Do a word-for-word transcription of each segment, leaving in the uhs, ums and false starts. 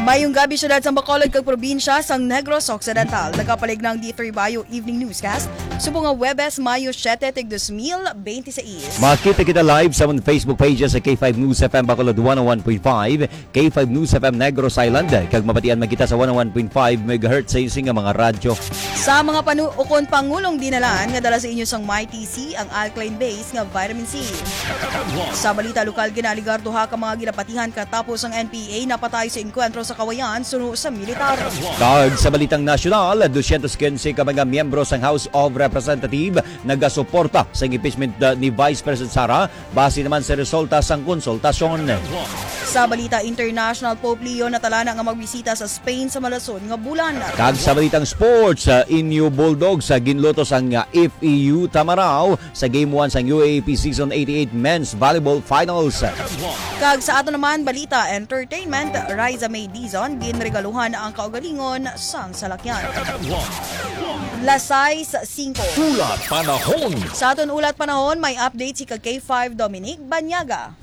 Mayong gabi, syudad sang Bacolod kag probinsya sang Negros Occidental. Nagapalig na ang D three Bio Evening Newscast, subong nga Huwebes, Mayo siete, tig dos mil bente seis. Makita kita live sa amon Facebook page sa K five News F M Bacolod one oh one point five, K five News F M Negros Island, kag mabatian man kita sa one oh one point five megahertz sa inyo nga mga radyo. Sa mga panu-, ukon pangulong dinalan nga dala sa inyo sang Mighty C, ang alkaline base nga vitamin C. Sa balita lokal, ginaaligar duha ka mga ginapatihan katapos ang N P A napatay sa engkwentro sa Kawayan suno sa militar. Kag sa balitang nasyonal, dosyentos quince ka mga miyembro sang House of Representative nagasuporta sa impeachment, uh, ni Vice President Sara, base naman sa resulta sang konsultasyon. Sa balita international, Pope Leo natalana nga magbisita sa Spain sa malason nga bulan. Kag sa balitang sports, uh, Inyo Bulldogs, uh, ginlutos ang, uh, F E U Tamaraw sa Game one sang U A A P Season eighty-eight Men's Volleyball Finals. Kag sa ato naman balita entertainment, Riza May Dizon ginregaluhan ang kaugalingon sang salakyan. Las sais singko. Ulat panahon. Sa aton ulat panahon, may update si ka K five Dominic Banyaga.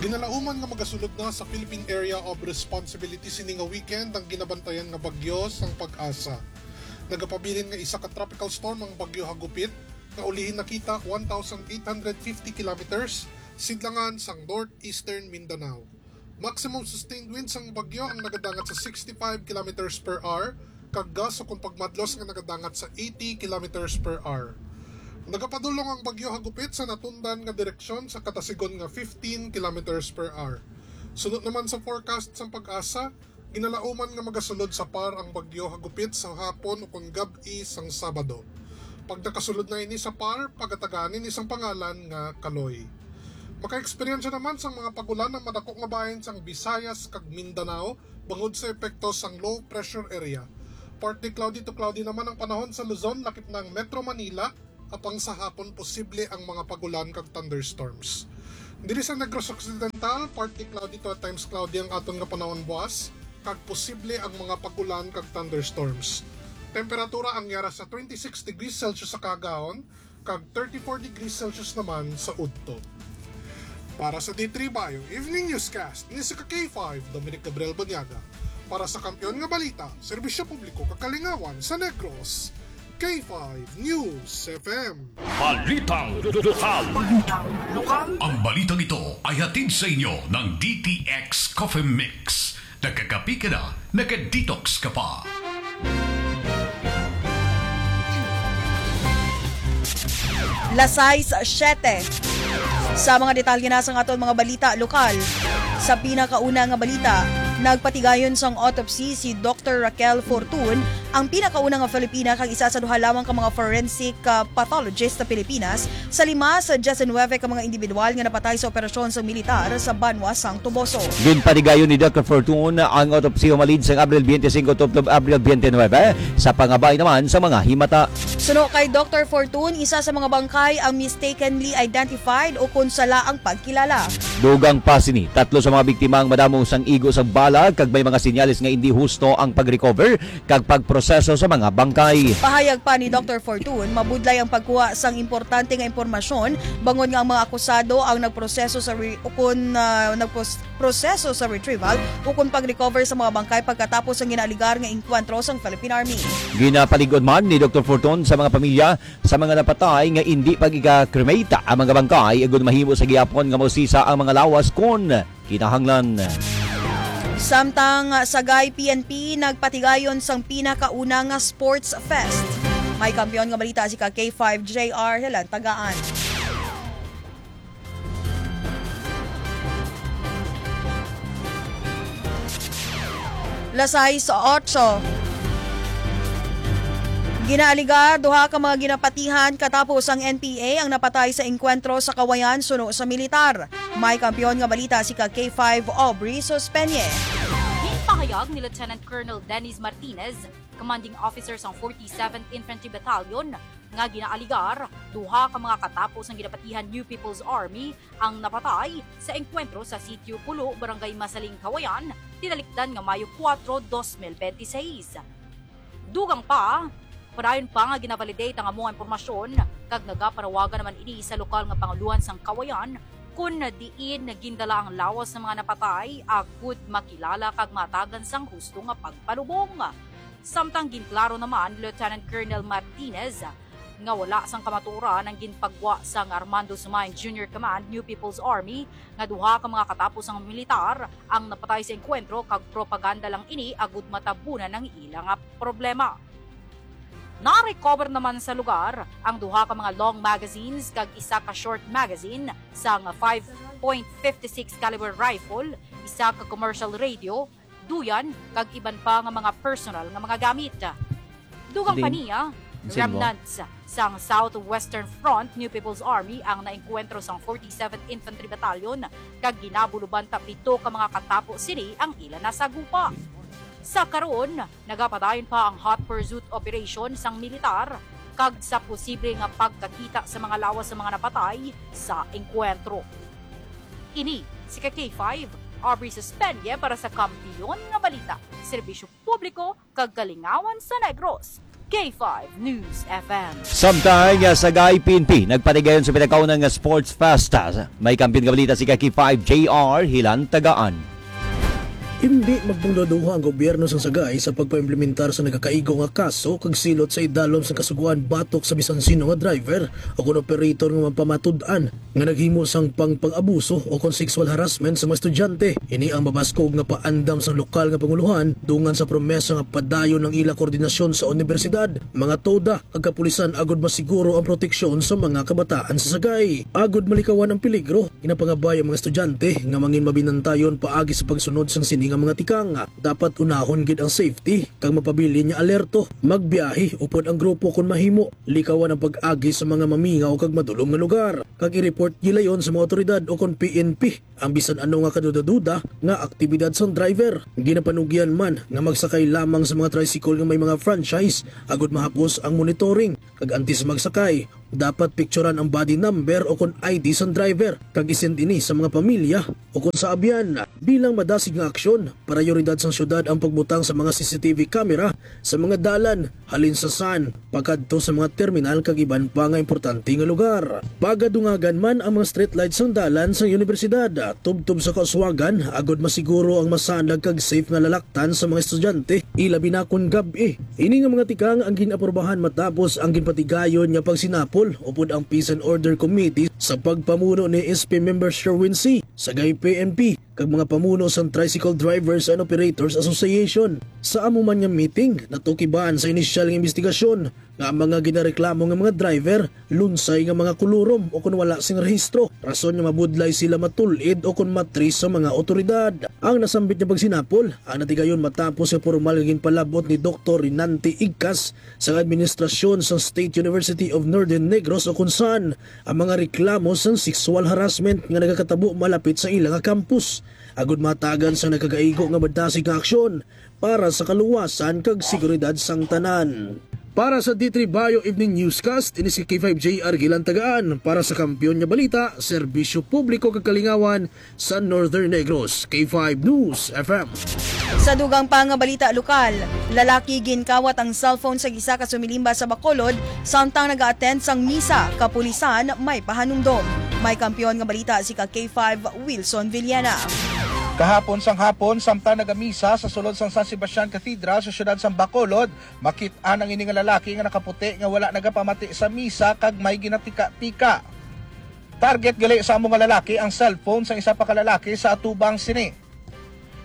Ginalauman nga magasulod na sa Philippine Area of Responsibility sini nga weekend ang ginabantayan nga bagyo sang Pag-asa. Nagapabilin nga isa ka tropical storm ang Bagyo Hagupit, nga ulihi nakita one thousand eight hundred fifty kilometers sidlangan sang northeastern Mindanao. Maximum sustained wind sang bagyo ang nagadangat sa sixty-five kilometers per hour, kag gust ukon pagmadlos nga nagadangat sa eighty kilometers per hour. Nagapadulong ang Bagyo Hagupit sa natundan nga direksyon sa katasigon nga fifteen kilometers per hour. Suno naman sa forecast sang Pag-asa, ginalauman nga magasulod sa par ang Bagyo Hagupit sa hapon ukon gab-i sang Sabado. Pag nakasulod na ini sa par, pagatagaan ini sang pangalan nga Kaloy. Makaeksperyensya naman sang mga pagulan ang madako nga bahin sang Visayas kag Mindanao bangod sa epekto sang low pressure area. Partly cloudy to cloudy naman ang panahon sa Luzon, lakip na ang Metro Manila, apang sa hapon posible ang mga pagulan kag thunderstorms. Diri sa Negros Occidental, partly cloudy to at times cloudy ang aton nga panahon buas, kag posible ang mga pagulan kag thunderstorms. Temperatura ang yara sa twenty-six degrees Celsius sa kaagahon, kag thirty-four degrees Celsius naman sa udto. Para sa D three Bio Evening Newscast, ni si ka K five, Dominic Gabriel Banyaga. Para sa Kampiyon nga Balita, Serbisyo Publiko kag Kalingawan sa Negros, K five News F M. Balitang lokal. Balitang lokal. Ang balitang ito ay hatid sa inyo ng D T X Coffee Mix. Nagkakape ka na, naka-detox ka pa. Las sais siyete. Sa mga detalye na sa aton mga balita lokal, sa pinakauna nga balita, nagpatigayon sang autopsy si Doctor Raquel Fortun, ang pinakauna nga Filipina kag isa sa duha lamang ka mga forensic, ah, pathologist sa Pilipinas, sa lima sa diyes nuwebe ka mga individual nga napatay sa operasyon sang militar sa banwa sang Toboso. Ginpatigayon ni Doctor Fortun ang autopsy humalin sang Abril twenty-five tubtob Abril twenty-nine sa pangabay naman sa mga himata. Suno kay Doctor Fortun, isa sa mga bangkay ang mistakenly identified o kon sala ang pagkilala. Dugang pa sini, tatlo sa mga biktima ang madamo sang igo sa bala kag may mga senyales nga indi husto ang pag-recover kag pagproseso sa mga bangkay. Pahayag pa ni Doctor Fortun, mabudlay ang pagkuha sang importante nga impormasyon bangod nga ang mga akusado ang nagproseso sa re-, ukon, ah, nagpros-, proseso sa retrieval ukon pag-recover sa mga bangkay pagkatapos ang ginaaligar nga engkwentro sang Philippine Army. Ginapalig-on man ni Doctor Fortun sa mga pamilya sa mga napatay nga indi pag-iga-cremate ang mga bangkay, agud mahimo sa gihapon nga mausisa ang mga lawas kon kinahanglan. Samtang sa Sagay P N P, nagpatigayon sang pinakauna nga sports fest. May kampiyon nga balita si ka K five J R Helen Tagaan. Las sais otso. Ginaaligar, duha ka mga ginapatihan katapos ang N P A ang napatay sa engkwentro sa Kawayan suno sa militar. May kampiyon nga balita si ka K five Aubrey Sospeñe. Ginpahayag ni Lieutenant Colonel Dennis Martinez, commanding officer sang forty-seventh Infantry Battalion, nga ginaaligar, duha ka mga katapos ang ginapatihan New People's Army ang napatay sa engkwentro sa Sitio Pulo, Barangay Masaling, Kawayan, tinalikdan nga Mayo kuwatro, dos mil bente seis. Dugang pa, padayon pa nga ginavalidate ang amo nga impormasyon, kag nagapanawagan naman ini sa lokal nga pangulohan sang Kawayan Kon diin gindala ang lawas sa mga napatay, agud makilala kag matagan sang husto nga pagpalubong. Samtang ginklaro naman ni Lieutenant Colonel Martinez nga wala sang kamatuoran ang ginpagwa sang Armando Sumayan Junior Command New People's Army nga duha ka mga katapos sang militar ang napatay sa engkwentro kag propaganda lang ini agud matabunan ang ila nga problema. Na-recover naman sa lugar ang duha ka mga long magazines kag isa ka short magazine sang five point five six caliber rifle, isa ka commercial radio, duyan, kag iban pa nga mga personal nga mga gamit. Dugang pa niya, remnants sang Southwestern Front New People's Army ang naengkwentro sang forty-seventh Infantry Battalion, kag ginabuluban ta pito ka mga katapo sini ang ila nasagupa. Sa karon, nagapadayon pa ang hot pursuit operation sang militar kag sa posible nga pagkakita sa mga lawas sa mga napatay sa engkwentro. Ini si ka K five, Aubrey Suspendie para sa Kampiyon nga Balita, Serbisyo Publiko kag Kalingawan sa Negros, K five News F M. Samtang, ah, sa Sagay P N P, nagpatigayon sa pinakauna nga Sports Fest. May kampiyon nga balita si ka K five J R Hilantagaan. Hindi magpangduha-duha ang gobyerno sang Sagay sa pagpaimplementar sa nagakaigo nga kaso kag silot sa idalom sang kasugoan batok sa bisan sino nga driver o kon operator nga mapamatud-an nga naghimo sang pangpang-abuso o kon sexual harassment sa mga estudyante. Ini ang mabaskog nga paandam sang lokal nga pangulohan dungan sa promesa nga padayon ang ila koordinasyon sa unibersidad, mga TODA, kag kapulisan agud masiguro ang proteksyon sa mga kabataan sa Sagay. Agud malikawan ang peligro, ginapangabay ang mga estudyante nga mangin mabinantayon paagi sa pagsunod sang sini nga mga tikang. Dapat unahon gid ang safety kag mapabilin nga alerto. Magbiyahe upod ang grupo kon mahimo. Likawan ang pag-agi sa mga mamingaw kag madulom nga lugar, kag i-report gilayon sa mga awtoridad o kon P N P ang bisan ano nga kaduda-duda nga aktibidad sang driver. Ginapanugyan man nga magsakay lamang sa mga tricycle nga may mga franchise agud mahapos ang monitoring, kag antes magsakay, dapat picturan ang body number o kon I D sang driver kag i-send ini sa mga pamilya o kon sa abyan. Bilang madasig nga aksyon, prayoridad sang syudad ang pagbutang sa mga C C T V camera sa mga dalan, halin sa sun pakadto sa mga terminal kag iban pa nga importante nga lugar. Pagadungagan man ang mga street lights sang dalan sang unibersidad, tubtob sa kauswagan, agud masiguro ang masanag kag safe nga lalaktan sa mga estudyante, ilabi na kon gab-i. Ini nga mga tikang ang gin-aprubahan matapos ang ginpatigayon nga pagsinapol upod ang Peace and Order Committee sa pagpamuno ni S P Member Sherwin C. Sagay P N P, kag mga pamuno sang Tricycle Drivers and Operators Association. Sa amo man nga meeting, natukiban sa inisyal nga imbestigasyon nga ang mga ginareklamo nga mga driver lunsay nga mga kulurom o kon wala sing rehistro, rason nga mabudlay sila matul-id o kon matris sa mga awtoridad. Ang nasambit nga pagsinapol ang natigayon matapos sa pormal nga ginpalab-ot ni Doktor Rinante Igcas sang administrasyon sang State University of Northern Negros o kon sun ang mga reklamo sang sexual harassment nga nagakatabo malapit sa ila nga campus, agud matagan sang nagakaigo nga madasig nga aksyon para sa kaluwasan kag seguridad sang tanan. Para sa D three Bio Evening Newscast, ini si K five J R Gilantagaan para sa Kampiyon nga Balita, Serbisyo Publiko kag Kalingawan sa Northern Negros, K five News F M. Sa dugang pa nga balita lokal, lalaki ginkawat ang cellphone sa isa ka sumilimba sa Bacolod samtang naga-attend sang misa, kapulisan may pahanumdom. May kampiyon nga balita si ka K five Wilson Villena. Kahapon sang hapon, samtang nagamisa sa sulod sang San Sebastian Cathedral sa siyudad sang Bacolod, makit-an ang ini nga lalaki nga nakaputi nga wala nagapamati sa misa kag may ginatika-tika. Target gali sa amo nga lalaki ang cellphone sang isa pa ka lalaki sa atubang sini.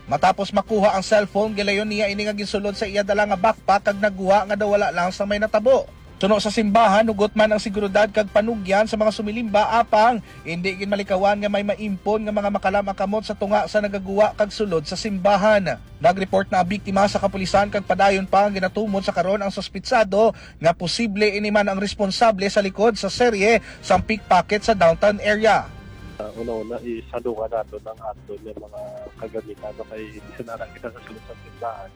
Matapos makuha ang cellphone, gilayon niya ini nga ginsulod sa iya dala nga backpack kag nagwa nga daw wala lang sang may natabo. Suno sa simbahan, hugot man ang seguridad kag panugyan sa mga sumilimba, apang indi gid malikawan nga may maimpon nga mga makalam ang kamot sa tunga sa nagaguwa kag sulod sa simbahan. Nag-report na ang biktima sa kapulisan kag padayon pa nga ginatumod sa karon ang suspitsado nga posible ini man ang responsable sa likod sa serye sang pickpocket sa downtown area. Ah, una-una, isadungan naton ang aton nga mga kagamitan, no, kay bisan ara kita sa sulod sa tindahan,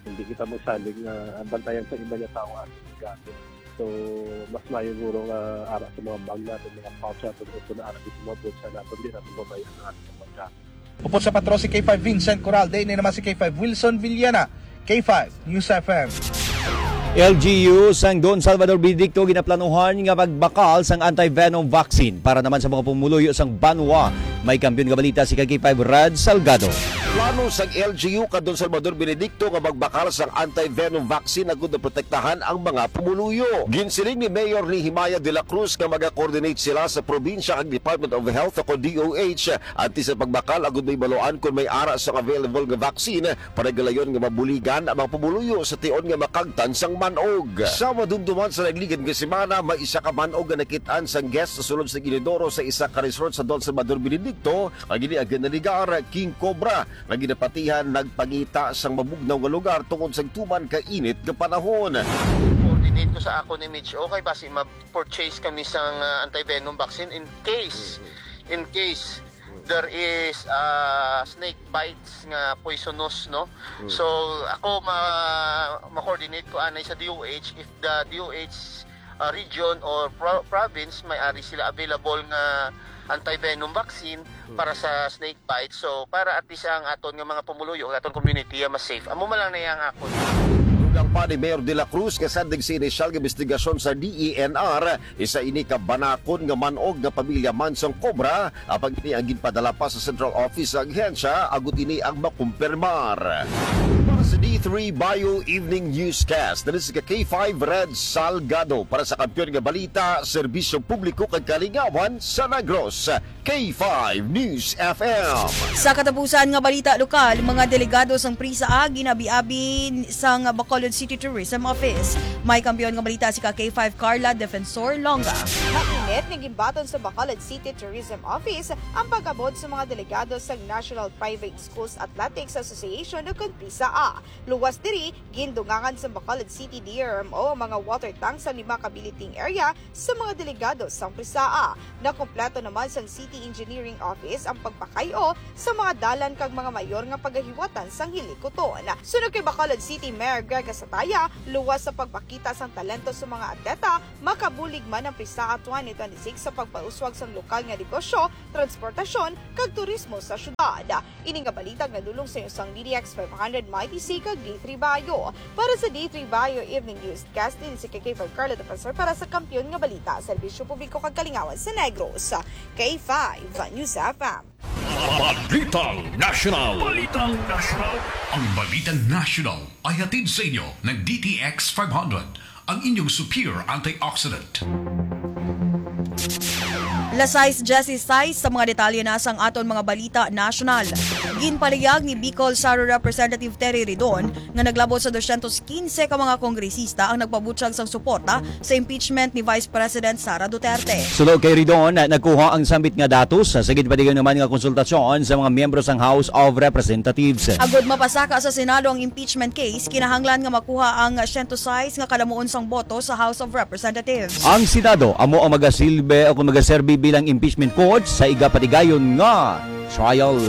hindi kita magsalig nga bantayan sa iba nga tawo ang aton gamit. So, mas maayo guro nga ara sa mga bag naton, mga pouch naton, o kung ara sa mga bulsa naton, di naton babayaan ang aton mga gamit. Upod sa patro si K five Vincent Coralde, ini naman si K five Wilson Villena, K five News F M. L G U sang Don Salvador Benedicto ginaplanuhan nga magbakal sang anti-venom vaccine para naman sa mga pumuluyo sang banwa. May kampiyon nga balita si ka K five Rad Salgado. Plano sang L G U ka Don Salvador Benedicto nga magbakal sang anti-venom vaccine agud na protektahan ang mga pumuluyo. Ginsiling ni Mayor Nehemiah de la Cruz nga maga-coordinate sila sa probinsya kag Department of Health o D O H antes sa pagbakal agud may baluan kon may ara sang available nga vaccine para galayon nga mabuligan ang mga pumuluyo sa tion nga makagtan sang manog. Sa madumduman sa nagligad nga semana, may isa ka manog nga nakit-an sang guest sa sulod sa Inodoro sa isa ka resort sa Don Salvador Benedicto, ang ini ang ginaligar King Cobra, nga ginapatihan nagpangita sang mabugnaw nga lugar tungod sa tuman ka init nga panahon. Coordinate ko sa akon ni Mitch, okay, basi ma-purchase kami sang, ah, anti-venom vaccine in case, in case there is, ah, snake bites nga poisonous, no? So, ako ma-, ma-coordinate ko anay sa D O H if the D O H, ah, region or pro-, province may ari sila available nga anti-venom vaccine para sa snake bite. So, para at least ang aton nga mga pumuluyo, ang aton community, ah, mas safe. Amo man lang na yang akon. Dugang pa ni Mayor de la Cruz nga sandig sa inisyal nga investigasyon sa D E N R, isa ini ka banakon nga manog nga pamilya man sang Cobra, apang ini ang ginpadala pa sa central office sa ahensya, agud ini ang makumpirmar. Para sa D three Bio Evening Newscast, dali sa K five Red Salgado para sa kampiyon nga balita, serbisyo publiko kag kalingawan sa Negros. K five News F M. Sa katapusan nga balita lokal, mga delegado sang PRISA ginabi-abi sang Bacolod City Tourism Office. May kampiyon nga balita si ka K five Carla Defensor Longa. Mainit nga ginbaton sa Bacolod City Tourism Office ang pag-abot sa mga delegado sang National Private Schools Athletics Association o kon PRISA. Luwas diri, gindungangan sa Bacolod City D R M O ang mga water tanks sa lima ka billeting area sa mga delegado sang PRISA. Nakumpleto naman sang City Engineering Office ang pagpakay-o sa mga dalan kag mga mayor nga pagahiwatan sang hilikuton. Suno kay Bacolod City Mayor Greg Gasataya, luwas sa pagpakita sang talento sa mga atleta, makabulig man ang PRISA twenty twenty-six sa pagpauswag sang lokal nga negosyo, transportasyon, kag turismo sa syudad. Ini nga balita ang nadulong sa inyo sang D T X five hundred Mighty C kag D three Bio. Para sa D three Bio Evening Newscast, ini si K K five Carla Defensor para sa Kampiyon nga Balita, Serbisyo Publiko kag Kalingawan sa Negros, K five News F M. Balitang National. Balitang National. Ang Balitang National ay hatid sa inyo ng D T X five hundred, ang inyong superior antioxidant. Las sais dieciséis sa mga detalye na sang aton mga balita nasyonal. Ginpalihag ni Bicol Saro Representative Terry Ridon nga naglabot sa dosyentos quince ka mga kongresista ang nagpabutyag sang suporta sa impeachment ni Vice President Sara Duterte. Suno kay Ridon, nagkuha ang sambit nga datos sa ginpatigayon naman nga konsultasyon sa mga miyembro sang House of Representatives. Agud mapasaka sa Senado ang impeachment case, kinahanglan nga makuha ang siyento sais nga kalamuon sang boto sa House of Representatives. Ang Senado amo ang magasilbi o kung magaserbi bilang impeachment court sa igapatigayon nga trial.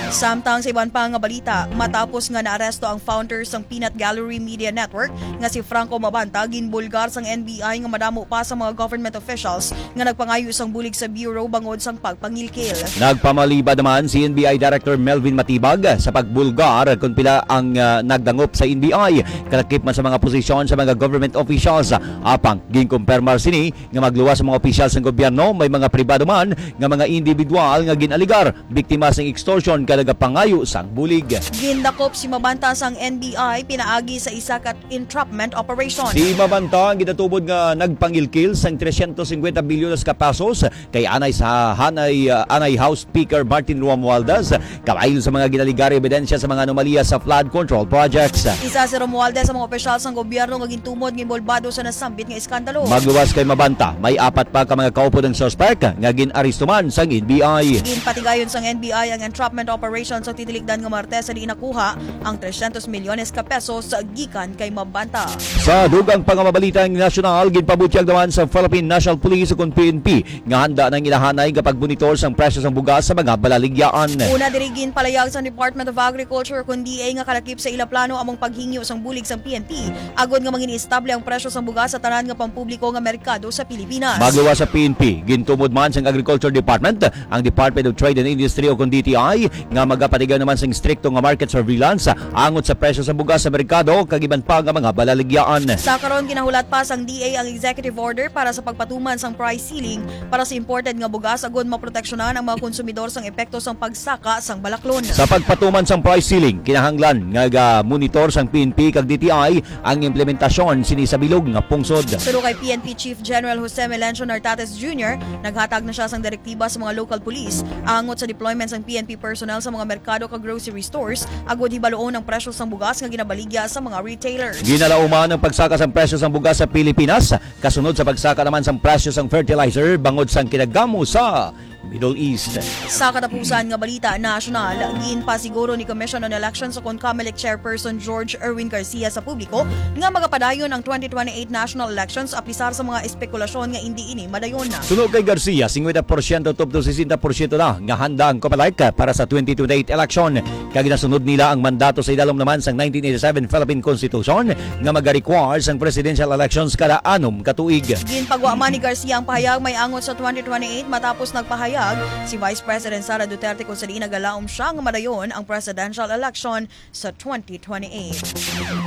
Samtang sa iban pa nga balita, matapos nga naaresto ang founder sang Peanut Gallery Media Network nga si Franco Mabanta, ginbulgar sang N B I nga madamo pa sa mga government officials nga nagpangayo sang bulig sa bureau bangod sang pagpangilkil. Nagpamalibad naman si N B I Director Melvin Matibag sa pagbulgar kon pila ang, ah, nagdangop sa N B I, kalakip man sa mga posisyon sa mga government officials. Apang ginkumpirmar sini nga magluwas sa mga opisyal sang gobyerno, may mga pribado man nga mga individual nga gin-alegar biktima sang extortion kag nagapangayo sang bulig. Gindakop si Mabanta sang N B I pinaagi sa isa ka entrapment operation. Si Mabanta ang ginatubod nga nagpangilkil sang trescientos cincuenta bilyones ka pesos kay anay sa hanay, ah, anay House Speaker Martin Romualdez, kabahin sa mga ginalegar ebidensya sa mga anomalya sa flood control projects. Isa si Romualdez sa mga opisyal sang gobyerno nga gintumod nga inbolbado sa nasambit nga iskandalo. Magluwas kay Mabanta, may apat pa ka mga kaupod ang suspek nga gin-aresto man sang N B I. Ginpatigayon sang N B I ang entrapment operation sa tinilikdan nga Martes sa diin nakuha ang trescientos milyones ka pesos gikan kay Mabanta. Sa dugang pa nga mga balitang nasyonal, ginpabutyag naman sa Philippine National Police o kon P N P nga handa na ang ila hanay nga pagmonitor sang presyo sang bugas sa mga balaligyaan. Una diri, ginpalayag sang Department of Agriculture o kon D A nga kalakip sa ila plano among paghingyo sang bulig sang P N P agod nga mangin-estable ang presyo sang bugas sa tanan nga pampubliko nga merkado sa Pilipinas. Magluwas sa P N P, gintumod man sang Agriculture Department ang Department of Trade and Industry o kon D T I nga magapatigayon naman sing strikto nga market surveillance angot sa presyo sa bugas sa merkado kag iban pa nga mga balaligyaan. Sa karon, ginahulat pa sang D A ang executive order para sa pagpatuman sang price ceiling para sa imported nga bugas agud maproteksyonan ang mga konsumidor sang epekto sang pagsaka sang balaklon. Sa pagpatuman sang price ceiling, kinahanglan nga ga-monitor sang P N P kag D T I ang implementasyon sini sa bilog nga pungsod. Suno kay P N P Chief General Jose Melencio Nartates Junior, naghatag na siya sang direktiba sa mga local police angot sa deployment sang P N P personnel sa mga merkado kag grocery stores agud hibaluon ang presyo sang bugas nga ginabaligya sa mga retailers. Ginalauman ang pagsaka sang presyo sang bugas sa Pilipinas, kasunod sa pagsaka naman sang presyo sang fertilizer bangod sang kinagamo sa Middle East. Sa katapusan nga balita nasyonal, ginpasiguro ni Commission on Elections o kon Comelec Chairperson George Erwin Garcia sa publiko nga magapadayon ang twenty twenty-eight national elections apisar sa mga espekulasyon nga indi ini madayon. Suno kay Garcia, singkwenta porsyento tubtob sesenta porsyento na nga handa ang Comelec para sa twenty twenty-eight election, kag ginasunod nila ang mandato sa idalom naman sang nineteen eighty-seven Philippine Constitution nga maga-require sang presidential elections kada anom ka tuig. Ginpagwa man ni Garcia ang pahayag may angot sa twenty twenty-eight matapos nagpahayag si Vice President Sara Duterte kung sa diin nagalaom siya nga madayon ang presidential election sa twenty twenty-eight.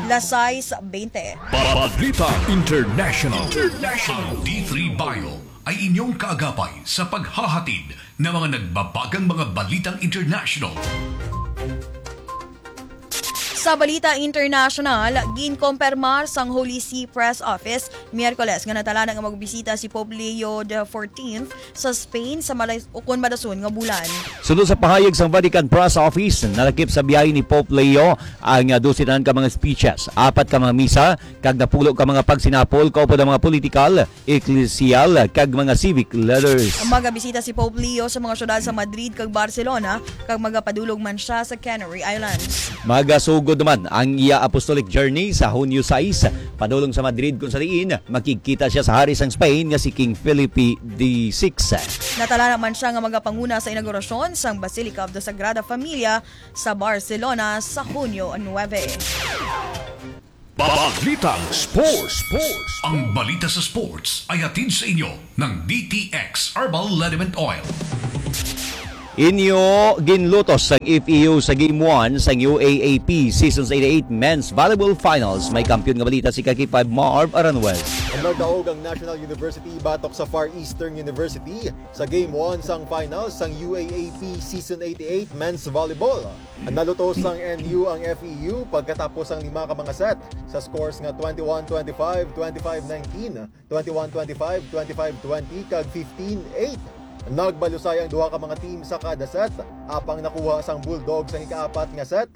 Las sais bente. Balita International. International. Ang D three Bio ay inyong kaagapay sa paghahatid ng mga nagbabagang mga balitang international. Sa balita international, ginkompermar sang Holy See Press Office Miyerkules nga natalanan nga magbisita si Pope Leo the fourteenth sa Spain sa malay-, ukon madason nga bulan. Suno sa pahayag sang Vatican Press Office, nalakip sa biyahe ni Pope Leo ang, ah, dose tanan ka mga speeches, apat ka mga misa, kag napulo ka mga pagsinapol kaupod ang mga political, eklesyal, kag mga civic leaders. Magabisita si Pope Leo sa mga syudad sa Madrid kag Barcelona, kag magapadulong man siya sa Canary Islands. Magasugod naman ang iya apostolic journey sa Hunyo sais, padulong sa Madrid, kung sa diin makigkita siya sa hari sang Spain nga si King Felipe the sixth. Natala naman siya nga magapanguna sa inaugurasyon sang Basilica of the Sagrada Familia sa Barcelona sa Hunyo nuebe. Balitang Sports. Sports. Ang balita sa sports ay hatid sa inyo ng D T X Herbal Liniment Oil. Inyo ginlutos sang F E U sa Game one sang U A A P Seasons eighty-eight Men's Volleyball Finals. May kampiyon nga balita si ka K five Marv Aranwez. Nagdaog ang National University batok sa Far Eastern University sa Game one sang Finals sang U A A P Season eighty-eight Men's Volleyball. Nalutos sang N U ang F E U pagkatapos sang lima ka mga set sa scores nga twenty-one twenty-five, twenty-five nineteen, twenty-one twenty-five, twenty-five twenty, kag fifteen eight. Nagbalusay ang duha ka mga team sa kada set, apang nakuha sang Bulldogs ang ikaapat nga set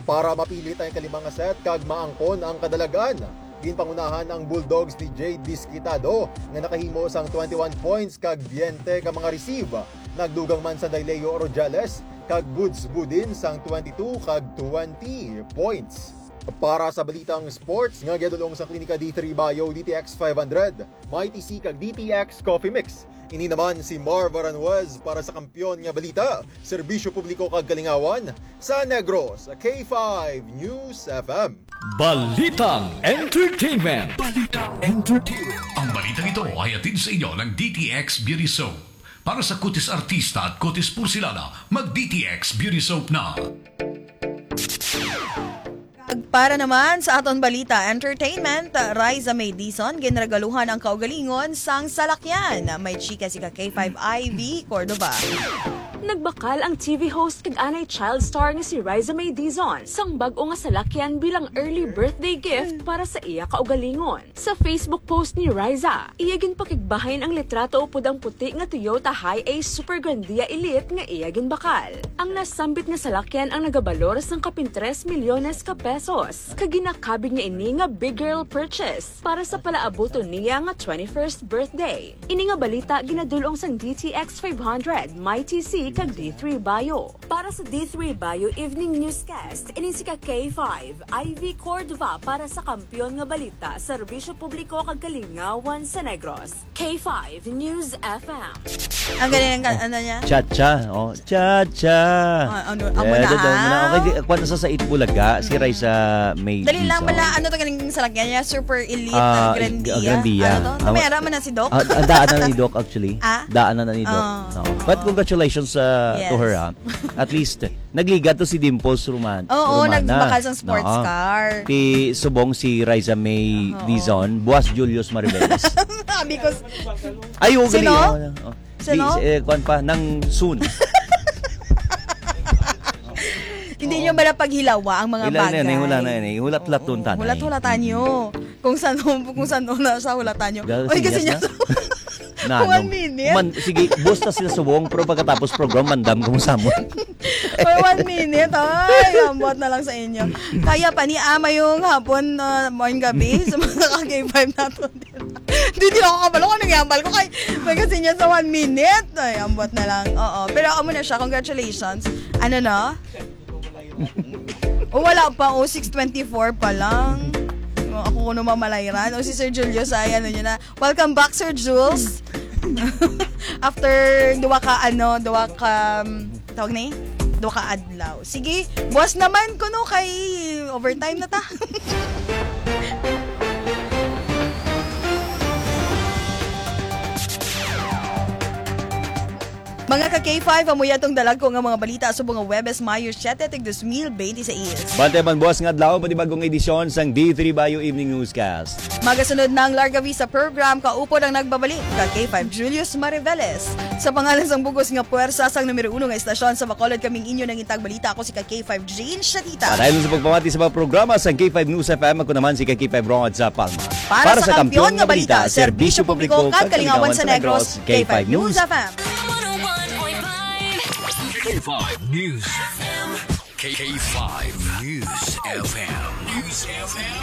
para mapilit ang ikalima nga set kag maangkon ang kadalag-an. Ginpangunahan ang Bulldogs ni Jade Disquitado nga nakahimo sang twenty-one points kag twenty ka mga receive. Nagdugang man sanday Leo Rojales kag Goods Budin sang twenty-two kag twenty points. Para sa balitang sports nga giadulong sa Klinika D three Bio, D T X five hundred, Mighty C kag D T X Coffee Mix. Ini naman si Marv Aranjuez para sa Kampiyon nga Balita, Serbisyo Publiko kag Kalingawan sa Negros, K five News F M. Balitang Entertainment. Balitang Entertainment. Ang balitang ito ay hatid sa inyo ng D T X Beauty Soap. Para sa kutis artista at kutis porselana, mag D T X Beauty Soap na. Kag para naman sa aton balita, entertainment, Riza May Dizon ginregaluhan ang kaugalingon sang salakyan. May chika si ka K five Ivy Cordova. Nagbakal ang T V host kag anay child star nga si Riza May Dizon sang bag-o nga salakyan bilang early birthday gift para sa iya kaugalingon. Sa Facebook post ni Riza, iya ginpakigbahin ang litrato upod ang puti nga Toyota Hiace Super Grandia Elite nga iya ginbakal. Ang nasambit nga salakyan ang nagabalor sang kapin tres milyones ka pesos, kag ginakabig niya ini nga big girl purchase para sa palaabuton niya nga twenty-first birthday. Ini nga balita ginadul-ong sang D T X five hundred, Mighty C, kag D three Bio. Para sa D three Bio Evening Newscast, ini si ka K five, Ivy Cordova para sa Kampiyon nga Balita, Serbisyo Publiko kag Kalingawan sa Negros, K five News F M. Ang galing ng ka-, ano niya? Cha-cha. Oh, cha-cha. Ah, ano, amo na, ha? Okay, di, kuwan na sa Sait Bulaga, si Raisa May Dizon. Dali lang, bala, ano to galing salakyan niya? Super Elite, ah, ah, Grandia. Grandia. Ano to? May ara man na si Doc? Ah, ah, daan na ni Doc, actually. Ah? Daan na ni Doc. Oh. No. But congratulations uh, to Yes. her, ah. At least, nagliga to si Dimples Roman. Oo, Romana. Nagbakal sang sports No. car. Ti subong si Riza May Oo. Dizon, buwas Julius Mariveles. Sabi ko, s- Ay, ugli. Sino? Oh, oh. Sino? Di, eh, kwan pa, nang soon. Hindi Oo. nyo bala paghilawa ang mga Hila na bagay? yan, eh, hula na yan, eh. Hulat-hulat Oo, doon, tanay. Hulat-hulatan nyo. Kung saan, kung saan na sa hulatan nyo. Dahil Oy, kasi sinyas niya na. Na, One ano, minute. man, sige, busta sila subong, pero pagkatapos program, mandam ko mo sa amon. Oy, one minute. Ay, ambot na lang sa inyo. Kaya pa ni, ah, mayong hapon, ah, mayong gabi sa mga ka-K five nato. Hindi, hindi ako kabalo kung anong yambal ko. Kay, may kasi niya sa one minute. Ay, ambot na lang. Oo. Pero amo na siya. Congratulations. Ano na? O, wala pa. O, six twenty-four pa lang. O, ako kuno mamalayran. O, si Sir Julius ay ano niya na. Welcome back, Sir Jules. After duwa ka, ano, duwa ka, um, tawag ni? Duwa ka adlaw. Sige, buwas naman kuno kay overtime na ta. Mga ka-K five, amo ya tong dalag ko nga mga balita subong nga Huwebes, Mayo siete, tig dos mil bente seis. Bantay man buwas nga adlaw, panibagong edisyon sang D three Bayo Evening Newscast. Magasunod na ang Larga Vista Program, kaupod ang nagbabalik, ka-K five Julius Mariveles. Sa pangalan sang bugos nga puwersa sang numero uno nga estasyon sa Bacolod, kaming inyo nangitag balita. Ako si ka-K five Jane Shatita. Padayon sa pagpamati sa mga programa sang K five News F M, ako naman si ka-K five Rod sa Palma. Para sa kampiyon nga balita, serbisyo publiko kag kalingawan sa Negros, K five News F M. K five News F M. K five News F M. News F M.